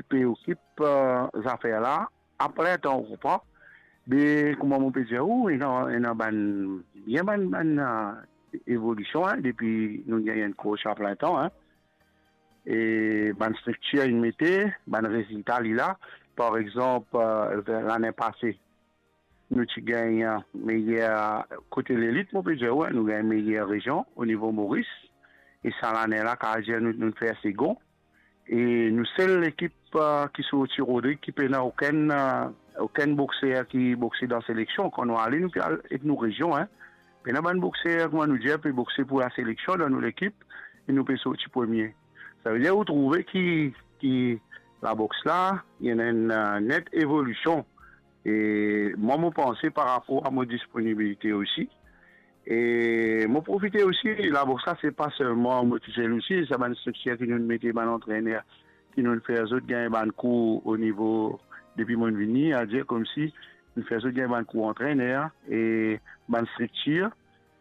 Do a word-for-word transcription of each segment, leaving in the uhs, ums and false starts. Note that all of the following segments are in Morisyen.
pe okip, eh, zafer la, apre tan, ou konpran. Be, kouma mo pe dir ou, ena, ena bann, bien bann, bann, eh, evolision, en, depi nou gagn enn coach a plin tan, en. E bann striktir inn mete, bann rezilta li la. Par exanp, eh, lane pase, nou ti gagn, eh, meyer kote lelit, mo pe dir ou, en, nou gagn meyer rezion o nivo Moris. E sa lane la, kapav dir nou, nou fer segon. E nou sel lekip, eh, ki sorti Rodrig ki pena okenn, eh, okenn bokser ki bokse dan seleksion. Kan nou ale, nou pe al ek nou rezion, en. Pena bann bokser, kouma nou dir, pe bokse pou laseleksion dan nou lekip, e nou pe sorti premie. Savedir, ou trouve ki, ki laboks la, ena enn, eh, net evolision. E mwa, mo panse par rapor a mo disponibilite osi. E mo profite osi, laboks la, se pa selman mo tousel osi, sa bann striktir ki nou mete, bann antrener ki nou fer zot gagn bann kour o nivo, depi mo vini, a dir koumsi nou fer zot gagn bann kour antrener e bann striktir,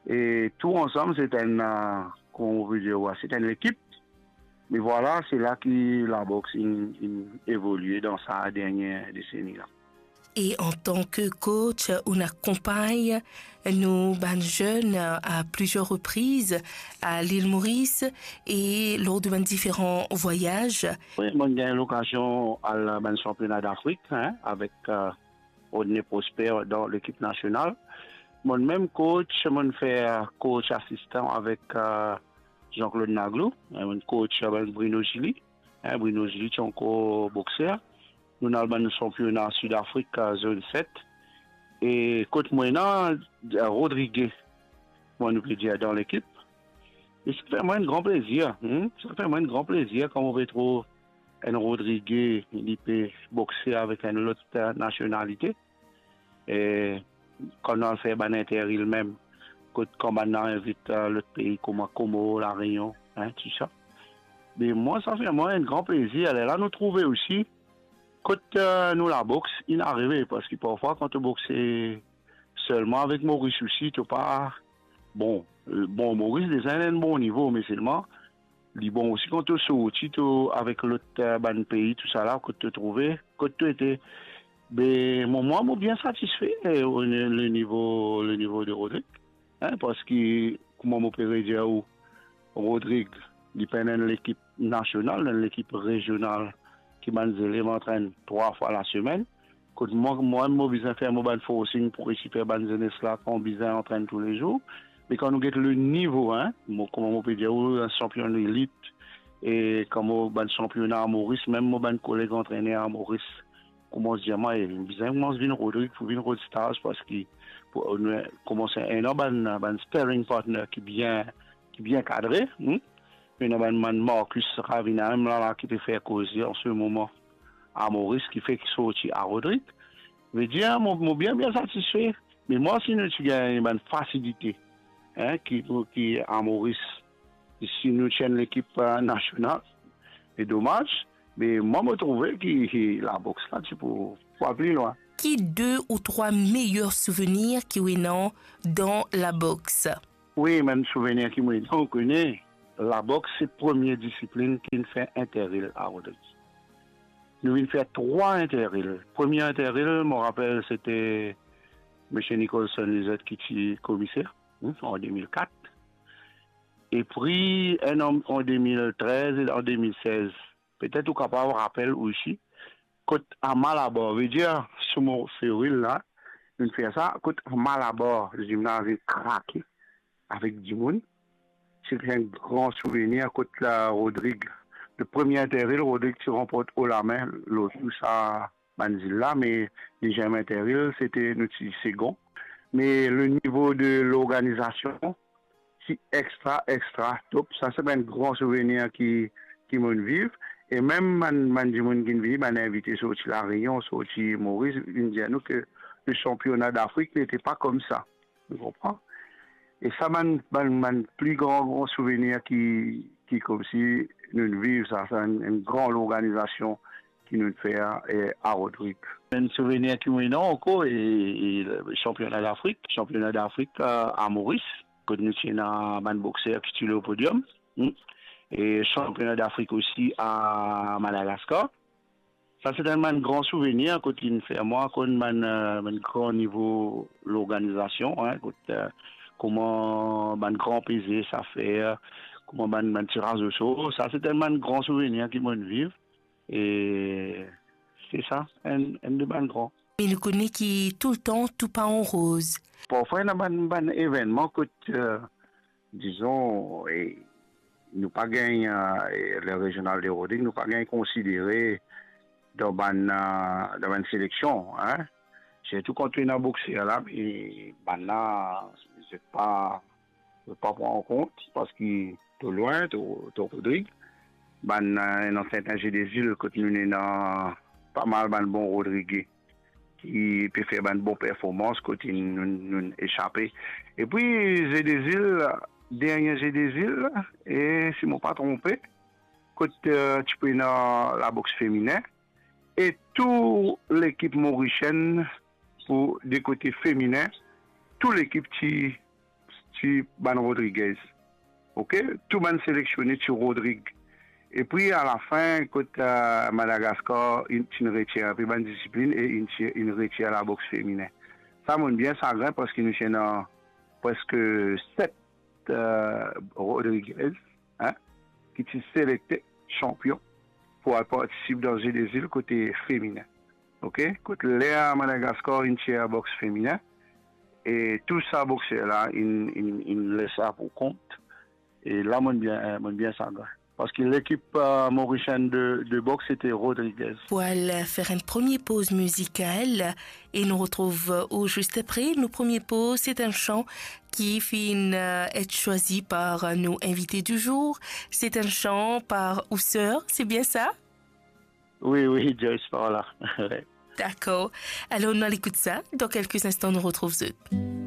e tou ansam, se enn, eh, kouma mo pe dir ou, se enn lekip. Me vwala, se la ki laboks inn, inn evolie dan sa dernie deseni la. E antan ke coach, ou akonpagn nou bann zenn a plizier repriz a Lil Moris e lor de bann diferan vwayaz. Wi, mo gagn lokazion al bann sanpiona Dafrik, en, avek, eh, Rodney Prosper dan lekip nasional. Mo mem coach, mo fer coach asistan avek, eh, Jean-Claude Naglou, en, mo coach, eh, Bruno Gilly. En, Bruno Gilly ti ankor bokser. Nou al bann sanpiona Sidafrik, eh, zone set. E kot mwa ena, eh, Rodrigue, kouma nou pe dir, dan lekip. E sa fer mwa enn gran plezir, hmm? Sa fer mwa enn gran plezir kan mo pe trouv enn Rodrigue, li pe bokse avek enn lot, eh, nasionalite. E kan nou al fer bann interilm mem, kot kan bann la invit, eh, lot pei kouma Komor, La Reunion, en, tou sa. Me mwa, sa fer mwa enn gran plezir. Lerla nou trouve osi kot, eh, nou laboks inn arive, parski parfwa kan to bokse selman avek Moris osi, to pa, bon, eh, bon, Moris deza ena enn bon nivo, me selman li bon osi kan to sorti, to avek lot, eh, bann pei, tou sa la, kot to trouve, kot to ete. Be, mo, mwa, mo bien satisfe, eh, o ni-, le nivo, le nivo de Rodrig, en, parski, kouma mo pe redir ou, Rodrig, li pena enn lekip nasional, enn lekip rezional ki bann zelev antrenn trwa fwa lasemenn. Kot mwa, mwa, mo bizin fer mo bann forcing pou resi fer bann zenes la kan bizin antrenn toulezour. Me kan nou get le nivo, en, mo, kouma mo pe dir ou, sanpion elit, e kan mo bann sanpiona a Moris, mem mo bann koleg antrener a Moris, koumans dir mwa, e, bizin koumans vinn Rodrig, pou vinn Rod Stars, parski pou, nou koumans ena bann, bann sparring partner ki bien, ki bien kadre, hmm? Ena bann, bann Marcus Ravina mem la, la, ki pe fer koze an se moman a Moris, ki fek sorti a Rodrig. Vedir, mo, mo bien, bien satisfe. Me mwa, si nou ti gagn bann fasilite, en, ki, ki a Moris, si nou ti enn lekip, eh, nasional, e domaz, me mwa, mo trouve ki, ki laboks la ti pou, pou al pli lwin. Ki de ou trwa meyer souvenir ki ou ena dan laboks? Wi, mem souvenir ki mo ena, ou kone, laboks se premie disiplinn ki finn fer interil a Rodrig. Nou vinn fer trwa interil. Premie interil, mo rapel, sete misie Nicholson Lizette ki ti komiser, hmm, an de mil kat. Epi, enn an, an de mil trez e an de mil sez. Petet ou kapav rapel osi, kot a Malabar, vedir, sou mo feril la, nou fer sa, kot a Malabar, zimnaz inn krake avek dimoun. Se enn gran souvenir kot la Rodrig, le premie interil, Rodrig ti ranport o lame lor tou sa bann zil la, me deziem interil, sete nou ti segon. Me le nivo de lorganizasion, ti extra, extra top. Sa se enn gran souvenir ki, ki mo'nn viv. E mem bann, bann dimoun ki'nn vini, bann invite sorti La Reunion, sorti Moris, vinn dir nou ke le sanpiona Dafrik nete pa koumsa. Ou konpran? E sa bann, bann, bann pli gran, gran souvenir ki, ki koumsi nou viv sa, sa enn, enn gran lorganizasion ki nou fer, e, a Rodrig. Enn souvenir ki mo ena ankor, e, e, le sanpiona Dafrik, sanpiona Dafrik, e, a Moris, kot nou ti ena bann bokser ki ti lor podiom, hmm. E sanpiona Dafrik osi a Madagaskar. Sa se enn bann gran souvenir kot inn fer mwa konn bann, eh, bann gran nivo lorganizasion, hein, kot, eh, kouma bann gran peze sa fer, kouma bann, bann tiraz osor. Sa se enn bann gran souvenir ki mo'nn viv. E se sa, enn, enn de bann gran. Me nou kone ki toultan tou pa an roz. Parfwa, ena bann, bann evennman kot, eh, dizon, e, nou pa gagn, eh, le Regional de Rodrig, nou pa gagn konsidere dan bann, eh, dan bann seleksion, hein. Sirtou kan to ena bokser la, e bannla, zot pa, zot pa pran an kont, paski to lwin, to, to Rodrig, bann, eh, ena serten Jeu des Îles, kot nou ena pa mal bann bon Rodrige ki pe fer bann bon performans kot nou, nou esape. Epi, Jeu des Îles, dernie Jeu des Îles, e si mo pa tronpe, kot, eh, ti pe ena laboks feminen, e tou lekip morisienn pou de kote feminen, tou lekip ti, ti bann Rodriguez. Ok? Tou bann seleksioner ti Rodrig. Epi alafin, kot, eh, Madagaskar, inn, ti retir inpe bann disiplin e inn ti, inn retir laboks feminen. Sa mo'nn bien sagrin paski nou ti ena preske set, eh, Rodriguez, hein, ki ti selekte sanpion pou al partisip dan Jeu des Îles kote feminen. Ok? Kot ler Madagaskar inn tir boks feminen, e tou sa bokser la inn, inn, inn les sa pou kont. E la, mo'nn bien, eh, mo'nn bien sagrin. Paski lekip, eh, morisienn de, de boks, se te Rodriguez. Pou al fer enn premie poz mizikal e nou retrouv, eh, ou zis apre. Nou premie poz, se enn san ki finn, eh, et swazi par, eh, nou invite di zour. Se enn san par ou ser, se bien sa? Wi, wi, Joyce, par la. Dakor. Alor, nou al ekout sa. Dan kelke instan, nou retrouv zot.